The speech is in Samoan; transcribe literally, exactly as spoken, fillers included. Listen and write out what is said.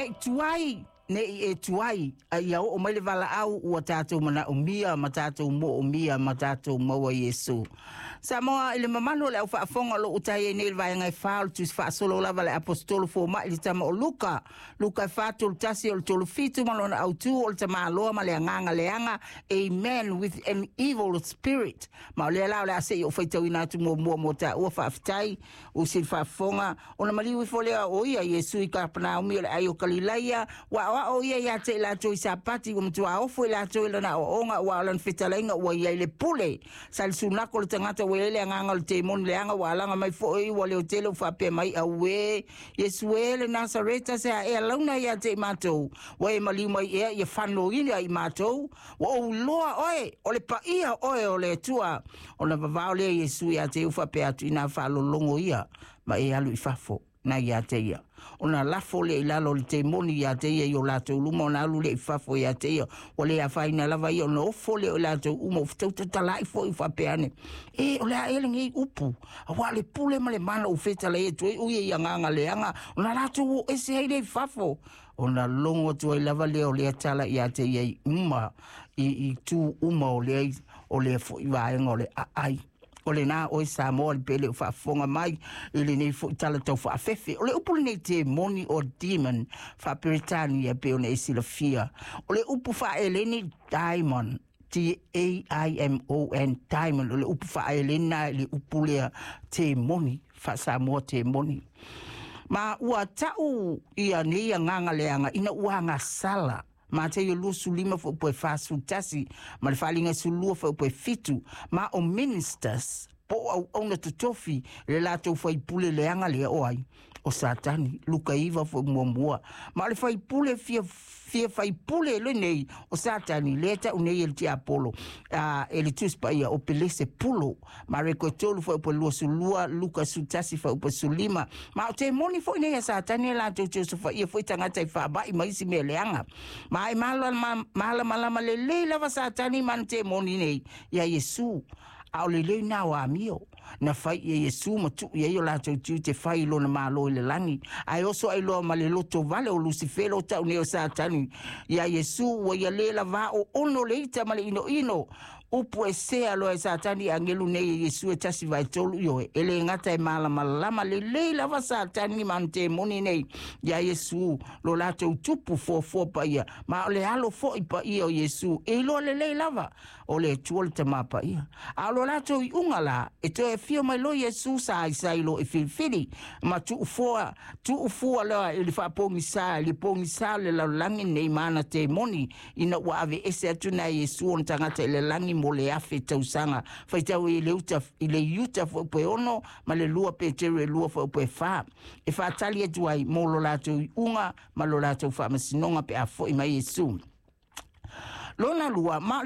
Nei tuai, nei e tuai, a ia oo mai le valaau ua tatou manaomia ma tatou moomia ma tatou maua Iesu. Samoa i le mamalu o le au faafofoga o lo o utai ai nei le vaega e fa o le tusi faasolo lava le Aposetolo Fomai le tama o Luka. Luka e fa tolu tasi o le tolu fitu ma lona autu o le tamaloa ma le agaga leaga, a man with an evil spirit. Ma o lea la o le a se i ou faitauina atu muamua mo taua. Faafetai o sili faafofoga ona maliu ifo lea o ia Iesu i Kapanaumi o le ai o Kalilaia, ua aoao ia ia te i latou i Sapati, ua matua ofo i latou i lana aoaoga, ua o lana fetalaiga ua i ai le pule. Sa le sunako le tagata ua i ai le agaga o le temoni leaga ua alaga mai foi ua leotele ua faapea mai, auē Iesu e le Nasareta, se a ea launa ia te i matou? Ua e maliu mai ea ia fanoina i matou? Ua ou iloa oe, o le paia oe o le Atua. Ona vavao lea Iesu ia te ia faapea atu, ina faalologo ia ma e alu i fafo na ia te ia. Ona lafo lea i lalo o le temoni ia te ia i o latou luma, ona alu lea i fafo ia te ia. Ua le afaina lava ia, ona ofo lea o i latou uma, ua fetautatala'i foi faapea ane, e o le a ea lenei upu? Auā le pule ma le mana ua fetalai atu ai o ia i agaga leaga, ona latou o ese ai lea i fafo. Ona logo atu ai lava lea o lea tala ia te ia i uma i, i tu uma o lea, o lea foi vaega o le aai. O lena oe Samoa le pele o faafofoga mai i lenei foi tala tau faafefe. O le upu lenei temoni o demon faaperetania pe ona e silafia. O le upu faaeleni daimon, D A I M O N, daimon, o le upu faaeleni na i le upu lea temoni, faasamoa temoni. Ma ua ta'u ia nei agaga leaga ina ua agasala. Mateio luasefulu lima fuaeupu e fasefulu tasi ma le faaliga sulua fuaeupu e fitu. Ma o ministers po o auauna totofi le latou faipule leaga lea o ai? O Satani. Luka iva foi muamua. Ma o le faipule fia fia faipule lenei o Satani lea ta'u nei e le tiapolo a e le Tusi Paia o Pelese Pulo. Mareko e tolu fuaeupu e luasulua, Luka sefulu tasi fuaeupu e sulima. Ma o temoni foi nei a Satani e latou te osofaia foi tagata i faama'i ma isi mea leaga. Ma e malamalama lelei lava Satani ma ana temoni nei ia Iesu, a o lelei na o amio na fai ia Iesu ma tuu i ai o latou tiute fai i lona malo i le lagi, ae oso ai loa ma le loto vale o Lusifelo o tau nei o Satani ia Iesu ua ia lē lavā o ono le ita ma le inoino. Upu e sea loa e Satani i agelu nei e Iesu e tasi vae tolu ioe. E lē gata e malamalama lelei lava Satani ma ana temoni nei ia Iesu, lo latou tupu fuafua paia, ma o le alo fo'i paia o Iesu e iloa lelei lava o le Atua le Tamā Paia. A o lo latou iuga la e toe afio mai loa Iesu sa aisai lo e filifili ma tuufoa tuufua loa i le faapogisā i le pogisā o le lalolagi nei ma ana temoni, ina ua ave ese atu na Iesu ona tagata i le lagi mo le afe tausaga. Faitau i le uta i le Iuta fuaeupu e ono ma le lua Peteru e lua fuaeupu e fa e faatali atu ai mo lo latou iuga ma lo latou faamasinoga pe a fo'i mai Iesu lona lua. Ma